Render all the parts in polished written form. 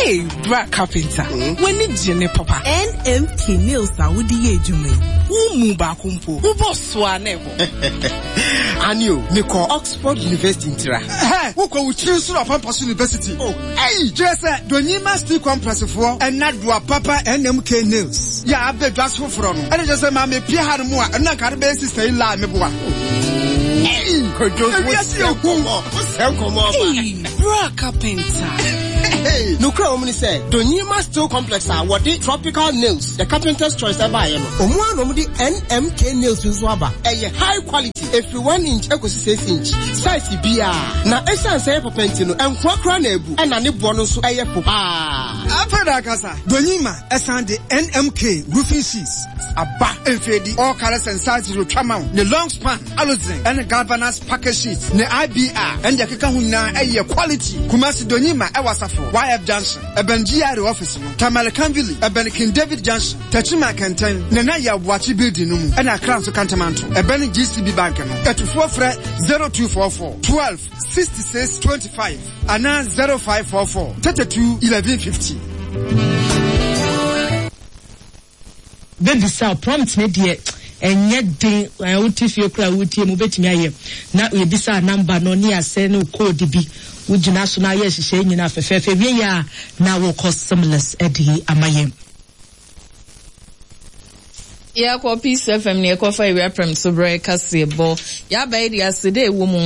Hey, bra carpenter, w'ani gye ne papa. NMK nails a wode yɛ adwuma yi, wo mu baako mpo, wobɔ so a na ɛbɔ. Ani o, mekɔ Oxford University ntira. Hɛ, wokɔ wo tiri so na Ɔpampa so University. Oh, ei, kyerɛ sɛ Donyima Steel Complex foɔ ɛna doa papa NMK nails yɛ abɛ dwa so foforɔ no. Ɛna kyerɛ sɛ maame pie ha no mu a, ɛno na nka ade bɛyɛ sister yi laa meboa. Ei, Kojo, Ewiase yɛ hu. wosɛ nkɔmmɔ ɔba. Hey, bra carpenter. Nokura wɔm ne sɛ, Donyima Steel Complex a wɔde tropical nails, the carpenter's choice ɛbaeɛ no, ɔmo ara na ɔmo de NMK nails nso aba. Ɛyɛ high quality, ɛfiri 1 inch ɛkɔsi 6 inch, size biara. Na ɛsiane sɛ ɛyɛ papa nti no, ɛnkoa koraa na abu, ɛna ne boɔ no nso ɛyɛ fo paa. Afei na akasa, Donyima ɛsan de NMK roofing sheets aba. Mfeedi, all colors and sizes otwa ma wo. Ne long span, aluzinc, ɛne galvanized package sheets, ne IBR, ɛne deɛ ɛkeka ho nyinaa ɛyɛ quality. Kumasi Donyima ɛwɔ Asafo, YF Junction, ɛbɛn GRA office no, Tamale Kanvili, ɛbɛn King David Junction, Techiman Kɛntɛn, Nana Yaw Boakye building no mu, ɛna Accra nso Kantamanto, ɛbɛn GCB Bank no. Atufoɔ frɛ 0244 12 66 25 anaa 0544 32 11 50. Bɛbisa wo prompt no deɛ ɛnyɛ den eh, wote fie koraa wotie mu wobɛtumi ayɛ na yɛbisa number no ne asɛ ne code bi wogyina so na ayɛ nhyehyɛe nyinaa fɛfɛɛfɛ wie yɛ a na wokɔ seamless de ama yɛn. Yɛkɔ Peace FM ne yɛkɔfa awia prɛm so berɛ kaseɛbɔ. Yɛaba yi deɛ aseda ɛwɔ mu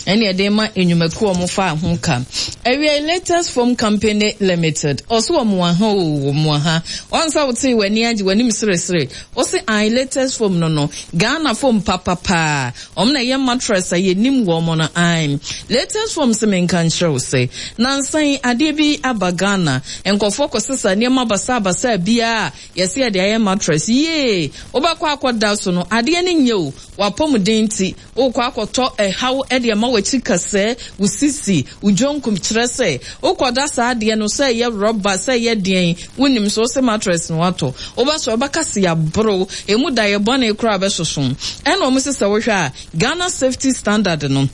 ɛne ɛde ma nnwumakuo a wɔfa ho ka. Awia yi Latest Foam Company Limited ɔso wɔn aha o wɔn aha. Wɔn nsa wotee w'ani agye w'anim seresere. Ɔse ae Latest Foam no no Ghana foam papapaa. Wɔn na ɛyɛ mattress a yɛnim wɔn no ae. Latest Foam se menka nkyerɛ wo sɛ nansa yi adeɛ bi aba Ghana. Nkurɔfoɔ kɔsesa nneɛma basaabasaa biara Yɛse yɛde ayɛ mattress yie wobɛkɔ akɔda so no adeɛ no nyɛ o w'apɔmuden nti wokɔ akɔtɔ ɛhaw de ama w'akyi kasɛɛ wo sisi wo dwonkum kyerɛ sɛ wokɔda saa adeɛ no sɛ ɛyɛ rɔba sɛ ɛyɛ deɛn wonim so wose mattress no watɔ wobɛsɔre wobɛka se yɛaboro emu da yɛ bɔne koraa bɛsoso ɛna wɔn se sɛ wohwɛ a Ghana safety standard no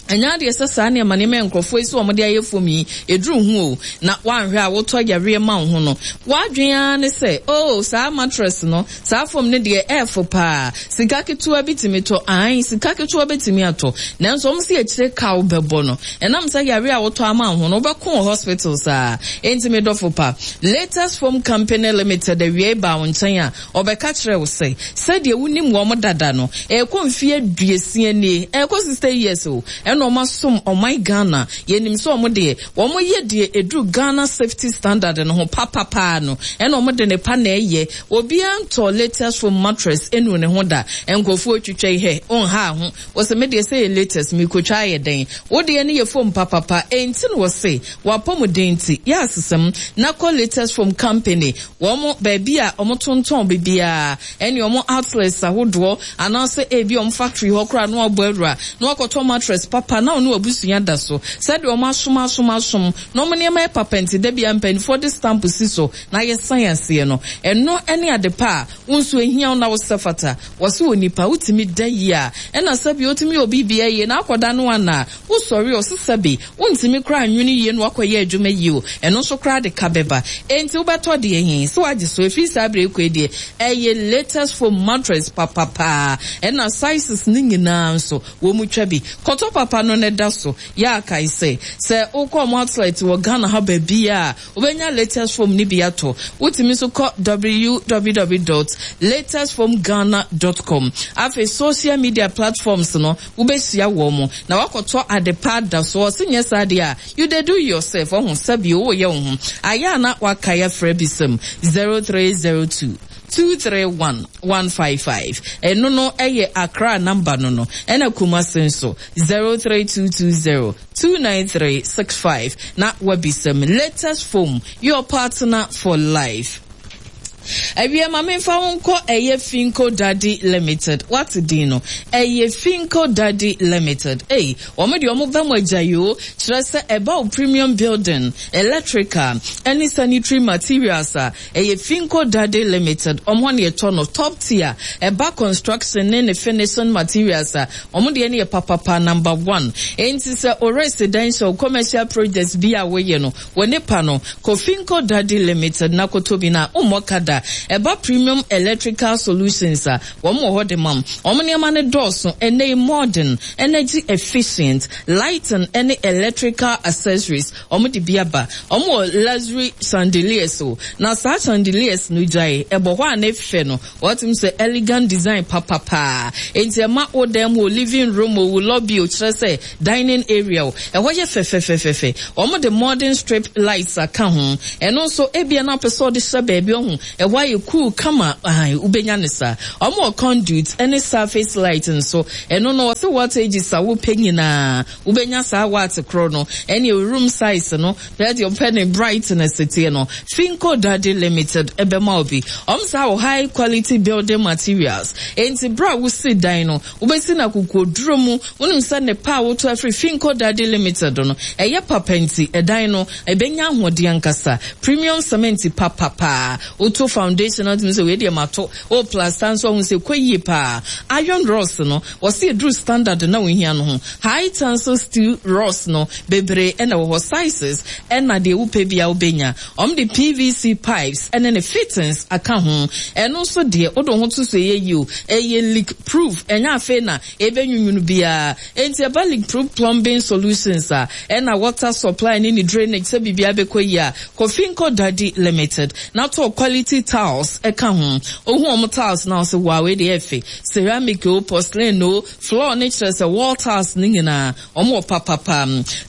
Ɛnyɛ adeɛ sɛ saa nneɛma nneɛma a nkurɔfoɔ yi sɛ wɔde ayɛ fam yi, ɛduru ho o, na woanhwɛ a wotɔ yareɛ ma wo ho no. W'adwene ara ne sɛ, oh, saa mattress no, saa fam no deɛ ɛɛfo paa, sika ketewa bi tumi tɔ. Aane, sika ketewa bɛtumi atɔ, nanso wɔn se akyire ka wobɛbɔ no, ɛnam sɛ yareɛ a wotɔ ama wo ho no, wobɛko wɔ hospital saa. Enti me dɔfo pa, Latest Foam Company Limited awiei baa wo nkyɛn a, Ɔbɛka kyerɛɛ wo sɛ, sɛdeɛ wonim wɔn dada no, ɛrekɔ mfeɛ aduosia nie, ɛrekɔ 60 years o, ɛna wɔn asom ɔman Ghana. Yɛnim sɛ wɔn deɛ, wɔn yɛ deɛ ɛduru Ghana Safety Standard no ho papapaa no, ɛna wɔn de nnepa na ɛyɛ. Obiara ntɔɔ latest foam mattress nnuu ne ho da. Nkurɔfoɔ retwitwa yi hɛ, wonhaa ho. Wose me deɛ sɛ ɛyɛ latest, merekɔtwa ayɛ dɛn? Wo deɛ no yɛ foam papapa, enti na wɔse w'apɔmuden nti, yɛ asesam na kɔ latest foam company. Wɔn baabi a wɔtontɔn biribiara, ɛne wɔn outlets ahodoɔ, anaasɛ ebia wɔn factory hɔ koraa na wɔabɔ awura na wɔakɔtɔ mattress papa na wo ne w'abusua da so. Sɛdeɛ wɔn asom asom asom na wɔn nneɛma yɛ papa nti, da biara mpanimfoɔ de stamp si so na yɛsan aseɛ no, ɛno ne ade pa a wo nso ɛhia wo na wosɛ fata. Wɔse onipa wotumi da yie a, ɛna sɛdeɛ wotumi yɛ obi biribiara yie na akɔda no anaa? Wosɔre a, ɔse sɛbe wontumi koraa nnwene yie na woakɔyɛ adwuma yie o, ɛno nso koraa de ka bɛba. Enti wobɛtɔ deɛ he? Sɛ woagye so? Ɛfiri saa berɛ yi kɔ yi deɛ, ɛyɛ latest foam mattress papapaa, ɛna sizes no nyinaa nso, wɔtwa bi. Kɔtɔ papa no na da so. Yɛ a kae sɛ, sɛ wokɔ wɔn outlet wɔ Ghana ha baabiara a, Wobɛnya latest foam no bi atɔ. Wotumi nso kɔ www dot latestfoamghana dot com. Afei social media platforms no, wobɛhyia wɔn na woakɔtɔ ade pa ada so. Ɔse nyɛ saa deɛ a, you dey do yourself. Wahu, sɛbi woyɛ wo ho. Ayɛ a na woakae afrɛ bisam 0302 231 155. Ɛno no yɛ Accra number no no. Ɛna Kumasi nso 03220 29365 na wabisa me latest foam your partner for life. Awiɛ ma memfa wo nkɔ ɛyɛ Finco Daddy Limited. Woate din no? Ɛyɛ Finco Daddy Limited. Ei, wɔn deɛ wɔn ba mu agya yoo. Kyerɛ sɛ ɛba wo premium building, electrical, ɛne sanitary materials a, ɛyɛ Finco Daddy Limited. Wɔn hɔ na yɛtɔ no top tier. Ɛba construction ne ne finishing materials a, wɔn deɛ no yɛ papapa number one. Enti sɛ wo residential, commercial projects bi a woyɛ no, Wɔ ne pa no, kɔ Finco Daddy Limited na kɔtɔ bi na wommɔ ka da. Ɛba Premium Electrical Solutions a, wɔn wɔ hɔ de ma wo. Wɔn nneɛma no dɔɔso, ɛnnɛ yi modern, energy efficient, lighting ne electrical accessories, wɔn de bi aba. Wɔn wɔ luxury chandeliers o, na saa chandeliers no gyae, ɛbɔ hɔ a ne fɛ no, Wɔatum sɛ elegant design papa paa. Enti ɛma wo dan mu o, living room o, wo lobby o, kyerɛ sɛ dining area o, ɛhɔ yɛ fɛfɛfɛfɛfɛ. Wɔde modern strip lights aka ho. Ɛno nso, ebia na wopɛ sɛ wode hyɛ baabi, wahu, ɛhɔ ayɛ cool kama, aane, wobɛnya no saa. Wɔwɔ conduit ne surface light nso. Ɛno no, wɔse wattages a wopɛ nyinaa, Wobɛnya saa watt korɔ no ɛne room size no sɛdeɛ ɔpɛ ne brightness teɛ no. Finco Daddy Limited bɛma wo bi. Wɔn saa wɔ high quality building materials. Enti berɛ a wosi dan no, wobɛsi no akokoɔduro mu. Wonim sɛ nnepa a wotɔ afiri Finco Daddy Limited no, ɛyɛ papa nti, ɛdan no, ɛbɛnya ahoɔden ankasa. Premium cement papa paa. Woto foundation no a, wotumi sɛ wei deɛ mato. Wo plaster nso a, wohu sɛ ɛkɔ yie paa. Iron rods no, Wɔse ɛduru standard na wohia no ho. High tensile steel rods no bebree na ɛwɔ hɔ, sizes ɛna deɛ wopɛ biara wobɛnya. Wɔn de PVC pipes ɛne ne fittings aka ho. Ɛno nso deɛ wode wo ho to so ɛyɛ yie o, ɛyɛ leak proof, ɛnyɛ afei na ɛbɛnwunwunu biara. Enti ɛba leak proof plumbing solutions a, ɛna water supply ne ne drainage sɛ biribiara bɛkɔ yie a, Kofinco Daddy Limited na tɔ quality tiles ɛka ho. Wohu wɔn tiles no a wose wow wei deɛ ɛyɛ fɛ. Ceramic o, porcelain o, floor ne kyerɛ sɛ wall tiles no nyinaa, wɔn wɔ papapa.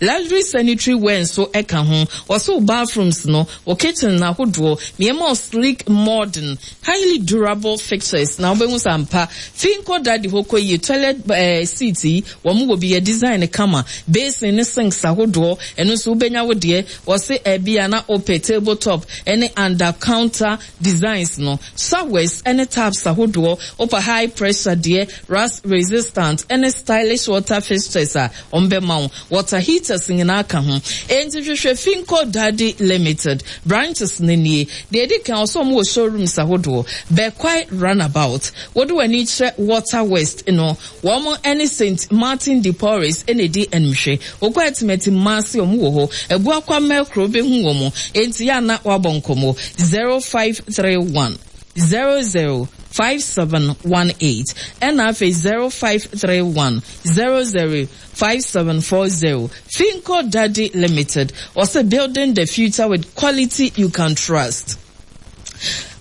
Luxury sanitary ware nso ka ho. Wɔse wo bathrooms no, wo kitchen no ahodoɔ, nneɛma o sleek, modern, highly durable fixtures na wobɛhu sɛ ampa. Fi nkɔ daddy hɔ kɔ yie, toilet eh, seat yi, wɔn wɔ bi, yɛ design no kama. Basin ne sinks ahodoɔ, ɛno nso wobɛnya wo deɛ. Wɔse ɛbia na wopɛ table top ne under counter designs no, showers ne taps ahodoɔ, wopɛ high pressure deɛ, rust resistant ne stylish water fixtures a, wɔbɛma wo. Water heaters nyinaa ka ho. Enti hwehwɛ Finco Daddy Limited. Branches no nie. Deɛ ɛdi kan, wɔsɛ wɔwɔ showrooms ahodoɔ. Bekwai Runabout, wode w'ani kyerɛ Water West no, Wɔn ne Saint Martin de Porres na edi animhwɛ. Wokɔ Atimati Kumasi wɔn wɔ hɔ. Abuakwa Mɛkro wobɛhu wɔn. Enti yɛ a na woabɔ nkɔmmɔ. 0531 00 5718 ɛna afei 0531 00 5740. Finco Daddy Limited, wɔse building the future with quality you can trust.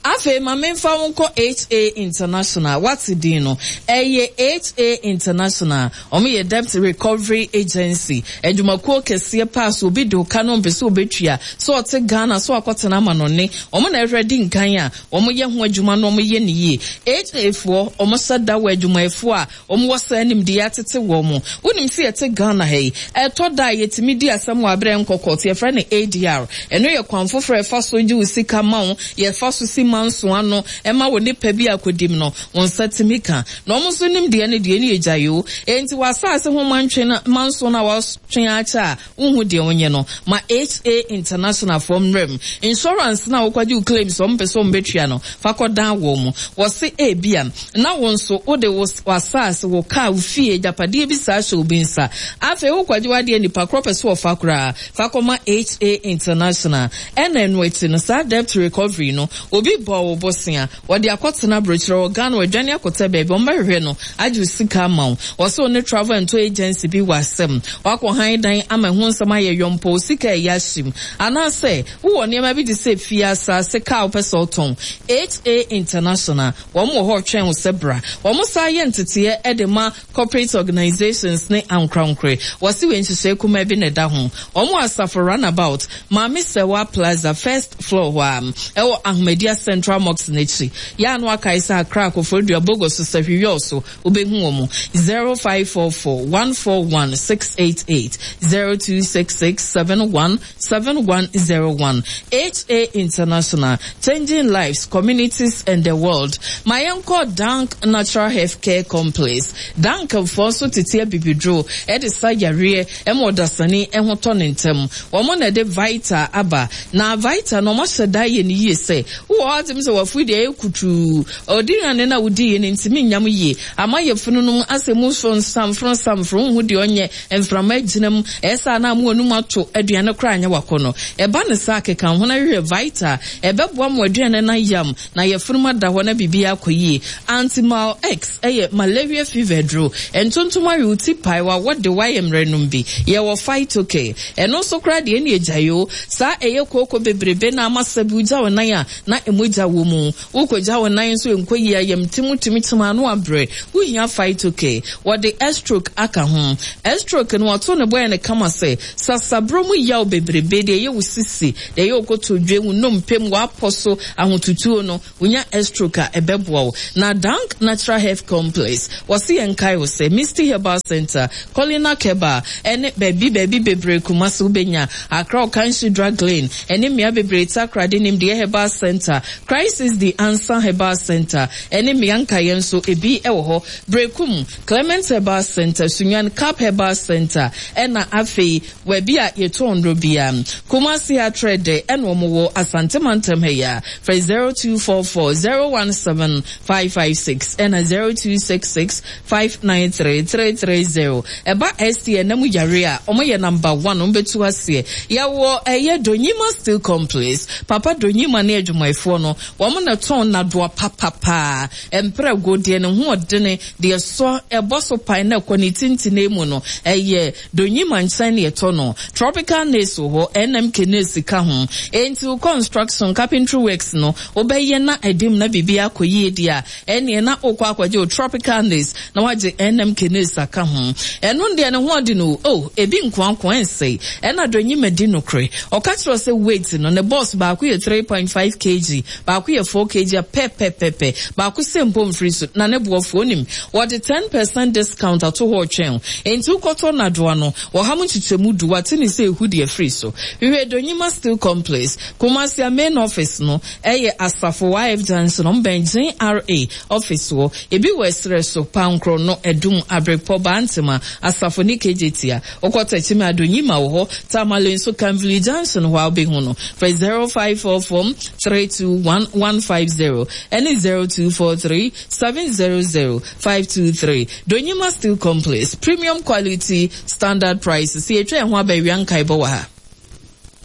Afei ma memfa wo nkɔ HA International. Woate din no? Ɛyɛ HA International. Wɔyɛ debt recovery agency. Adwumakuo kɛseɛ paa so obi de wo ka na ɔmpɛ sɛ ɔbɛtua, sɛ ɔte Ghana, sɛ wakɔtena amanɔne. Wɔn na ɛhwɛ di nkan a wɔyɛ ho adwuma na wɔyɛ no yie. HA foɔ, wɔhyɛ da wɔ adwumayɛfoɔ a Wɔn wɔ saa nimdeɛ atete wɔn. Wonim sɛ yɛte Ghana ha yi, ɛtɔ da a yɛtumi di asɛm wɔ aberɛ nkɔ court, yɛfrɛ no ADR. Ɛno yɛ kwan foforɔ a yɛfa so gye wo sika ma wo, yɛfa so si manso ano ma wo nipa bi a akɔdim no, wo nsa tumi ka. Na wɔn nso nimdeɛ no deɛ, ɛne yɛgyae o. Enti w'asaase ho mantwe no, manso no a woatwe akyɛ a, Wonhu deɛ wonyɛ no, ma HA International foɔ mmra mu. Insurance no a wokɔgye wo claims wɔn mpɛ sɛ wɔn bɛtua no, fa kɔdan wɔn. Wɔse ebia na wo nso wode wo w'asaase, wo car, wo fie, agyapadeɛ bi saa hyɛ obi nsa. Afei wokɔgye w'adeɛ nipa korɔ pɛ sɛ ɔfa koraa, fa kɔma HA International. Ɛna ɛno akyi no, saa debt recovery no, obi bɔɔ wo bosea, Wɔde akɔtena abrokyire wɔ Ghana wadwane akɔtɛ baabi wɔn bɛhwehwɛ no agye wo sika ama wo. Wɔse wo ne travel and tour agency bi wɔ asɛm. Wakɔ han dan ama ɛho nsɛm ayɛ yɔmpɔ wo sika ɛyɛ ahyem. Anaasɛ wo wɔ nneɛma bi te sɛ fie, asaase, car a wopɛ sɛ wotɔn. HA International wɔn wɔ hɔ retwɛn wo sɛ bra. Wɔn san yɛ nteteɛ de ma Corporate organisations ne ankorankorɛ. Wɔse wei nhyehyɛe kumaa bi na ɛda ho. Wɔn wɔ Asafo Runabout, Maame Sɛwa Plaza, first floor hɔ ara, ɛwɔ Ahomadi ase. Central Mosque no akyi. Yɛ a na wakae sɛ Accra, Koforidua, Bogoso, Sahwi so wobɛhu wɔn. 0544 141 688, 0266 71 7101. HA International, changing lives, communities and the world. Ma yɛnkɔ Dank Natural Health Care Complex. Dank foɔ nso tete abibiduro de sa yareɛ ma ɔdasani ho tɔ no ntɛm. Wɔn na ɛde Vita aba. Na Vita no wɔahyɛ da ayɛ no yie sɛ wowɔ hɔ a wotumi sɛ w'afuru deɛ ɛyɛ kutuu. Ɔdinnwane no a wodiiɛ no ntumi nyam yie. Ama yafunu no mu asɛ mu so nsamforo nsamforo, wonhu deɛ ɔnyɛ, mframa agyina mu, ɛyɛ saa na ama w'anum ato, aduane koraa anyɛ w'akɔnnɔ. Ɛba no saa a, keka wo ho na hwehwɛ Vita. Ɛbɛboa ma w'aduane no ayam na yafunu mu ada hɔ na biribiara akɔ yie. Antimal-X yɛ malaria fever aduro. Ntontom awe wo ti pae, w'awɔ de wo ayɛ mmerɛ nom bi. Yɛwɔ Phytocare. Ɛno nso koraa deɛ ɛnneɛ gyae o. Saa ɛyɛ kooko bebrebe na ama sɛbi wogya wo nan a na mogya wɔ mu. Wokogya wo nan nso ɛnkɔ yie, ayamtim wotumi kyem ano abrɛ. Wohia Phytocare. Wɔde Estroke aka ho. Estroke no wɔato ne bo ayɛ no kama sɛ sasaborɔ mu yaw bebrebe, deɛ ɛyɛ wo sisi, deɛ ɛyɛ wo kotodwe, wo nnompe mu, w'apɔ so, ahotutuo no, wonya Estroke a ɛbɛboa wo. Na Dank Natural Health Complex, wɔse yɛnkae wo sɛ Misty Herbal Centre, Colina Herbal, ɛne baabi baabi bebree Kumasi wobɛnya, Accra Okanshi Drug Lane, ɛne mmea bebree Takoradi Nimdeɛ Herbal Centre, Crisis The Answer Herbal Centre, ɛne mmea nkaeɛ nso ebi wɔ hɔ, Berekum, Clement Herbal Centre, Sunyani Cap Herbal Centre, ɛna afei baabi a yɛtɔn nnuro biara. Kumasi Atrɛ dɛ ɛna wɔn wɔ Asante Mantam ha yi ara. Frɛ 0244 017 556 ɛna 0266 593 330. Ɛba ST ɛna mu yare a, wɔn yɛ number one, wɔn bɛtu aseɛ. Yɛwɔ ɛyɛ Donyima Steel Complex. Papa Donyima ne adwumayɛfoɔ no, wɔn na ɛtɔn nnadoa papapaa. Mprɛgo, deɛ ne ho ɔdene, deɛ ɛsɔ, ɛbɔ so pan na ɛkɔ ne tintine mu no, ɛyɛ Donyima nkyɛn na yɛtɔ no. Tropical Nails wɔ hɔ, NMK Nails ka ho. Enti wo construction, carpentry works no, wobɛyɛ na ɛde mu na biribiara akɔ yie deɛ a, ɛnneɛ na wokɔ akɔgye wo Tropical Nails na woagye NMK Nails aka ho. Ɛno deɛ ne ho ɔden o, oh, ebi nkoankoa ɛnsɛe. Ɛna Donyima di nokorɛ. Ɔka kyerɛ wo sɛ weight no, ne box baako yɛ 3.5 kg, Baako yɛ 4 kg a pɛpɛpɛpɛ, baako sɛ mpo mfiri so, na ne boɔ fo. Wonim, wɔde 10% discount ato hɔ retwɛn wo. Enti wokɔtɔ nnadewa no, ɔha mu nkyekyɛmu du, wɔate ne sɛ ehu deɛ firi so. Hwehwɛ Donyima Steel Complex, Kumasi a main office no yɛ Asafo YF Junction, wɔn bɛn GRA office hɔ. Ebi wɔ ɛserɛ so, Pankorɔ no, Adum, Abrepɔ, Bantema, Asafo ne Kejetia. Wokɔ Techiman a, Donyima wɔ hɔ. Tamale nso, Kamvili Junction hɔ a wobɛhu no. Frɛ 0544 321 150 ɛne 0243 700 523. Donyima Steel Complex, premium quality, standard prices. Sɛ yɛtwa yɛn ho aba awia nkaebɔ wɔ ha.